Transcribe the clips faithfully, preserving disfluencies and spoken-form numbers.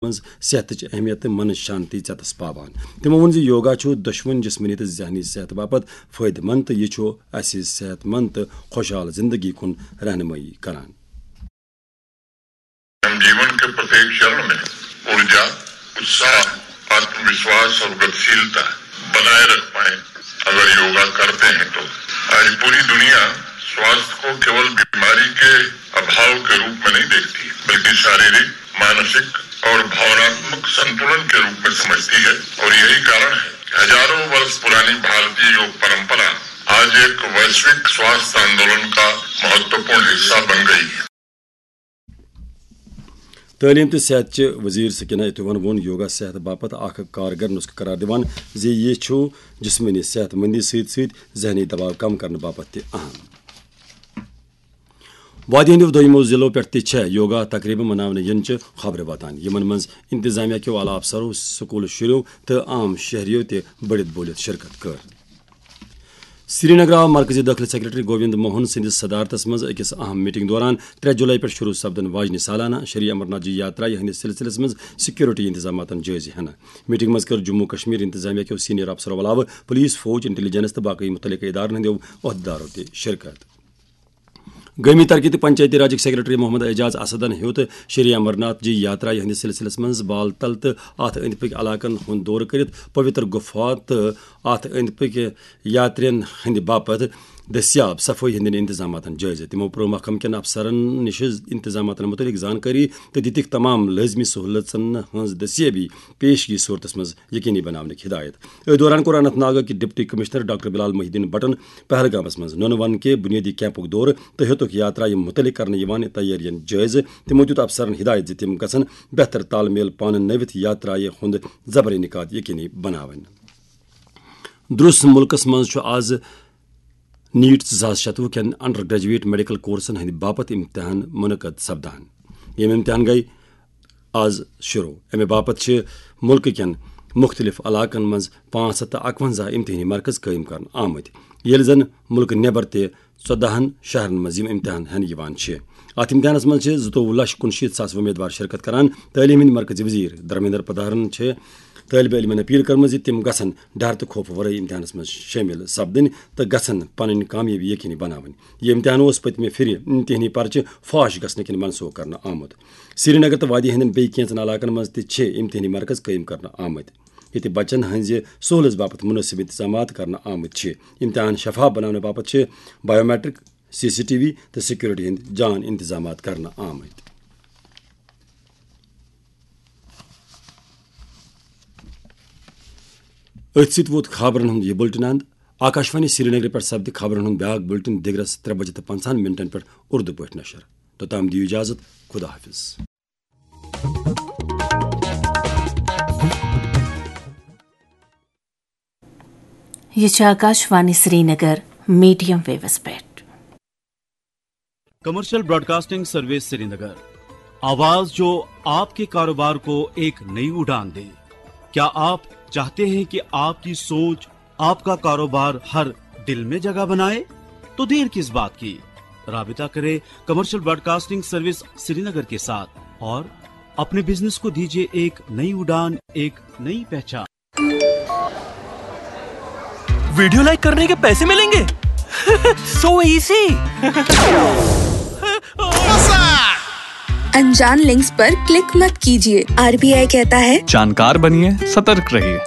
منٛز صحتٕچ اہمیت تہٕ منٕچ شانتی ژٮ۪تس پاوان۔ تِمو ووٚن زِ یوگا چھُ دۄشوٕنی جسمٲنی تہٕ ذہنی صحت باپتھ فٲیدٕ مند تہٕ یہِ چھُ اَسہِ صحت مند تہٕ خۄشحال زندگی کُن رہنمٲیی کران۔ हम जीवन के प्रत्येक चरण में ऊर्जा, उत्साह, आत्मविश्वास और गतिशीलता बनाए रख पाए अगर योगा करते हैं तो। आज पूरी दुनिया स्वास्थ्य को केवल बीमारी के अभाव के रूप में नहीं देखती, बल्कि शारीरिक, मानसिक और भावनात्मक संतुलन के रूप में समझती है। और यही कारण है कि हजारों वर्ष पुरानी भारतीय योग परंपरा आज एक वैश्विक स्वास्थ्य आंदोलन का महत्वपूर्ण हिस्सा बन गई है। تعلیم تہٕ صحت چہِ وزیر سکینہ اتوان ووٚن یوگا صحت باپتھ اکھ کارگر نسخہٕ قرار دِوان زِ یہِ چھُ جسمٲنی صحت مندی سۭتۍ سۭتۍ ذہنی دباو کم کرنہٕ باپتھ تہِ اہم۔ وادی ہٕنٛدیو دویمو ضلعو پٮ۪ٹھ تہِ چھےٚ یوگا تقریبہٕ مناونہٕ ینہٕ چہِ خبرٕ واتان، یِمن منٛز انتظامیہ کیو اعلیٰ افسرو، سکول شُریو تہٕ عام شہریو تہِ بٔڑِتھ بوٗلِتھ شرکت کٔر۔ سرینگر آو مرکزی دٲخلہٕ سیکرٹری گووند موہن سٕنٛدِس صدارتس منٛز أکِس اہم میٹنگ دوران ترٛےٚ جولائی پٮ۪ٹھ شروع سپدن واجنہِ سالانہ شری امرناتھ جی یاترا ہٕنٛدِس سلسلس منٛز سیکورٹی انتظاماتن جٲیزٕ ہینہٕ۔ میٹنگ منٛز کٔر جموں کشمیر انتظامیہ کیو سینئر افسرو علاوٕ پولیس، فوج، انٹیلیجنس تہٕ باقی متعلقہٕ ادارن ہٕنٛدیو عہدیدارو تہِ شرکت۔ گٲمی ترقی تہٕ پنچایتی راجٕکۍ سیکرٹری محمد اعجاز اسدن ہیوٚت شری امرناتھ جی یاترا ہٕنٛدِس سلسلس منٛز بال تل تہٕ اتھ أنٛدۍ پٔکۍ علاقن ہُنٛد دورٕ کٔرِتھ پویتر گُفا تہٕ اتھ أنٛدۍ پٔکۍ یاترین ہٕنٛدِ باپتھ دٔستیاب صفٲیی ہٕنٛدٮ۪ن انتظاماتن جٲیزٕ۔ تِمو پرو محکمہٕ کٮ۪ن افسرن نِش انتظاماتن مُتعلق زانکٲری تہٕ دِتِکھ تمام لٲزمی سہوٗلژن ہٕنٛز دٔستیٲبی پیشگی صورتس منٛز یقینی بناونٕکۍ ہدایت۔ أتھۍ دوران کوٚر اننت ناگٕکۍ ڈپٹی کمشنر ڈاکٹر بلال محی الدین بٹن پہلگامس منٛز نُنہٕ ونہٕ کہِ بنیٲدی کیمپُک دورٕ تہٕ ہیوٚتُکھ یاترایہِ مُتعلق کرنہٕ یِوان تیٲرین جٲیزٕ۔ تِمو دیُت افسرن ہدایت زِ تِم گژھن بہتر تال میل پانہٕ نٔوِتھ یاترایہِ ہُنٛد زبر انعقاد یقینی بناوٕنۍ۔ درست ملکس منٛز چھُ آز نیٹ زٕ ساس شتوُہ کٮ۪ن انڈر گریجویٹ میڈیکل کورسن ہٕنٛدِ باپتھ امتحان منعقد سپدان۔ یِم امتحان گٔے آز شروع۔ امہِ باپتھ چھِ ملکہٕ کٮ۪ن مُختٔلِف علاقن منٛز پانٛژھ ہَتھ تہٕ اَکوَنزاہ امتحٲنی مرکز قٲیِم کرنہٕ آمٕتۍ، ییٚلہِ زن ملکہٕ نٮ۪بر تہِ ژۄدہَن شہرن منٛز یِم امتحان ہٮ۪نہٕ یِوان چھِ۔ اتھ امتحانس منٛز چھِ زٕتووُہ لچھ کُنشیٖتھ ساس وۄمیدوار شرکت کران۔ تعلیٖم ہٕنٛدۍ مرکزی وزیر دھرمیندر پردھانن چھِ طٲلبہِ علمن اپیل کٔرمٕژ زِ تِم گژھن ڈر تہٕ خوفہٕ ورٲے امتحانس منٛز شٲمِل سپدٕنۍ تہٕ گژھن پنٕنۍ کامیٲبی یقینی بناوٕنۍ۔ یہِ امتحان اوس پٔتمہِ پھِرِ امتحٲنی پرچہِ فاش گژھنہٕ کِنۍ منسوخ کرنہٕ آمُت۔ سرینگر تہٕ وادی ہٕنٛدٮ۪ن بیٚیہِ کینٛژن علاقن منٛز تہِ چھِ امتحٲنی مرکز قٲیِم کرنہٕ آمٕتۍ، ییٚتہِ بچن ہٕنٛزِ سہوٗلژ باپتھ مُنٲسِب انتظامات کرنہٕ آمٕتۍ چھِ۔ امتحان شفاف بناونہٕ باپتھ چھِ biometric, C C T V تہٕ سیکورٹی ہٕنٛدۍ جان انتظامات کرنہٕ آمٕتۍ۔ أتھۍ سۭتۍ ووت خبرن ہُنٛد یہِ بُلٹن اند۔ آکاشوانی سرینگرٕ پٮ۪ٹھ سپدِ خبرن ہُنٛد بیاکھ بُلٹن دِگرس ترٛےٚ بجہِ تہٕ پنٛژاہن منٹن پٮ۪ٹھ اردو پٲٹھۍ نشر۔ توٚتام دِیِو اجازت، خدا حافظ۔ یہ چھِ آکاشوانی سرینگر میڈیم ویوس پٮ۪ٹھ۔ کمرشل براڈکاسٹنگ سروس سرینگر، آواز جو آپ کے کاروبار کو ایک نئی اڑان دے۔ کیا آپ چاہتے ہیں کہ آپ کی سوچ، آپ کا کاروبار ہر دل میں جگہ بنائے؟ تو دیر کس بات کی؟ رابطہ کریں کمرشل براڈکاسٹنگ سروس سرینگر کے ساتھ اور اپنے بزنس کو دیجیے ایک نئی اڑان، ایک نئی پہچان۔ वीडियो लाइक करने के पैसे मिलेंगे? So easy। अनजान लिंक्स पर क्लिक मत कीजिए। आरबीआई कहता है, जानकार बनिए, सतर्क रहिए।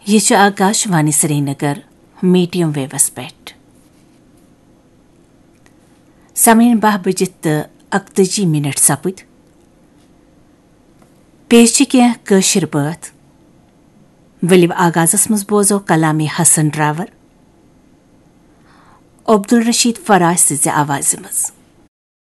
یہ چھُ آکاشوانی سرینگر میڈیم ویوس پٮ۪ٹھ۔ سامعین، باہ بجِتھ تہٕ اکتٲجی منٹ سپٕدۍ۔ پیش چھِ کینٛہہ کٲشِر بٲتھ۔ ؤلِو آغازس منٛز بوزو کلامِ حسن ڈراور عبدالرشید فراج سٕنٛزِ آوازِ منٛز۔